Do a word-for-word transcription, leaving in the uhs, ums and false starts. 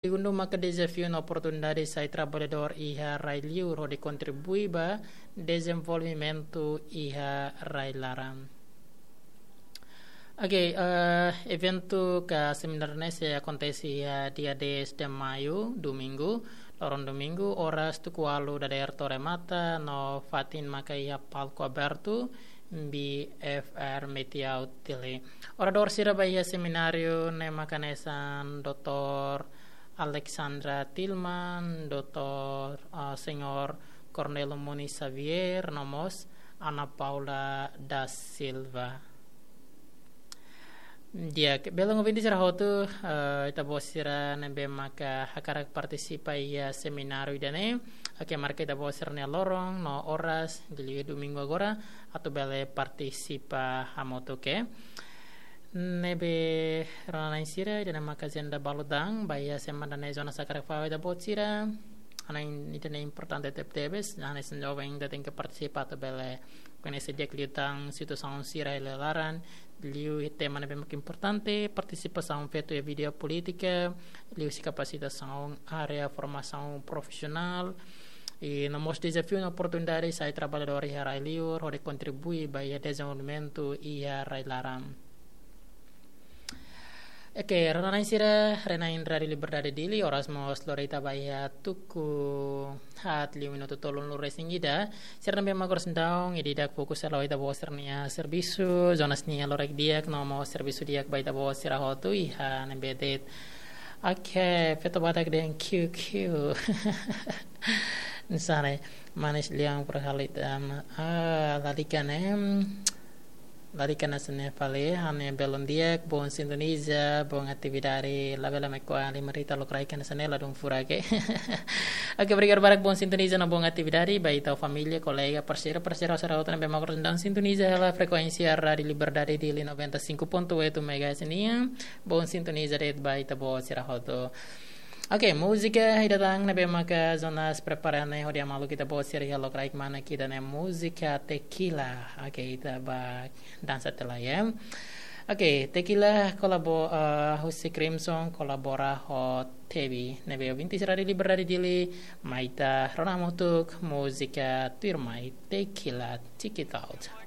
Segundu maka dezafiu no oportunidade sai traballadór iha rai-liur hodi kontribui ba dezenvolvimentu iha rai-laran. Oke, eh, eventu ka semináriu ne'e sei akontese iha dia dez de maio, domingu, loron domingu, oras tuku ualu dadeer to'o remata, no fatin maka iha palku abertu, B F R Metiau Dili. Oradór sira ba iha semináriu ne'e maka hanesan doutór Alexandra Tilman, doutór, ah, señór Cornelio Moni Xavier, no mós Ana Paula da Silva. Di'ak, belun ouvinte sira hotu, eh, ita-boot sira ne'ebé maka hakarak partisipa iha semináriu ida-ne'e, oke, marka ita-boot sira-nia loron no oras, liuliu domingu agora, atu bele partisipa hamutuk, oke. Ne'ebé rona-na'in sira, ida-ne'e maka ajenda balu da'an, ba iha semana ne'e zona sakar fa ita-boot sira, hanesan ida-ne'e importante tebetebes, hanesan joven ita tenke partisipa atu bele koñese di'ak liután situasaun sira iha rai-laran, liu tema ne'ebé mak importante, partisipasaun feto iha vida polítika, liuhusi kapasitasaun área formasaun profisionál, i no mós dezafiu no oportunidade sai traballadór iha rai-liur, hodi kontribui ba iha dezenvolvimentu iha rai-laran. Oke, rona-na'in sira, rona-na'in Rádiu Liberdade Dili, oras mós lori tiha ba iha tuku haat liu minutu tolunulu-resin-ida. Sira ne'ebé mak oras daudaun, ida-idak fokus halo ita-boot sira-nia servisu, zonas nia loraik di'ak, no mós servisu di'ak ba ita-boot sira hotu iha ne'ebé de'it. Oke, feto badak dehan kiu kiu. Hanesan ne'e, manis lian por halit am. Ah, lalika ne'e. Lalika hanesan ne'e fali, ha'u-nia belun di'ak, bom sintoniza, bom atividade, labele mai ko'a lima rita lokraik hanesan ne'e ladún furak, oke. Oke, obrigadu barak, bom sintoniza no bom atividade, ba ita-nia família, kolega, parseiru, parseira, sira hotu ne'ebé mak oras daudaun sintoniza hela frekuénsia Rádiu Liberdade Dili noventa e cinco ponto oito megahertz nian, bom sintoniza de'it ba ita-boot sira hotu. Oke, múzika ida tan ne'ebé maka Jonas prepara ne'e hodi hamaluk ita-boot sira iha lokraik manas ida-ne'e múzika Tequila. Oke, ita bá dansa tiha lai, ya. Oke, Tequila kolabo-, eh, husi Crimson kolabora ho Tevi. Ne'ebé ouvinte sira Rádiu Liberdade Dili, mai ita rona hamutuk múzika tuirmai Tequila, Check It Out.